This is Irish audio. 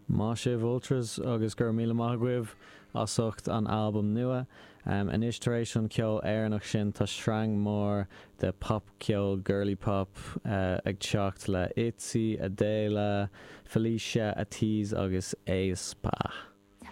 Maith sibh Ultras agus go raibh míle maith agaibh as ucht an albam nua. Anois tar éis an ceol Éireannach sin tá sreang mór de popcheol girly pop ag teacht le Itzy, Adéla, Felicia, Ateez agus aespa.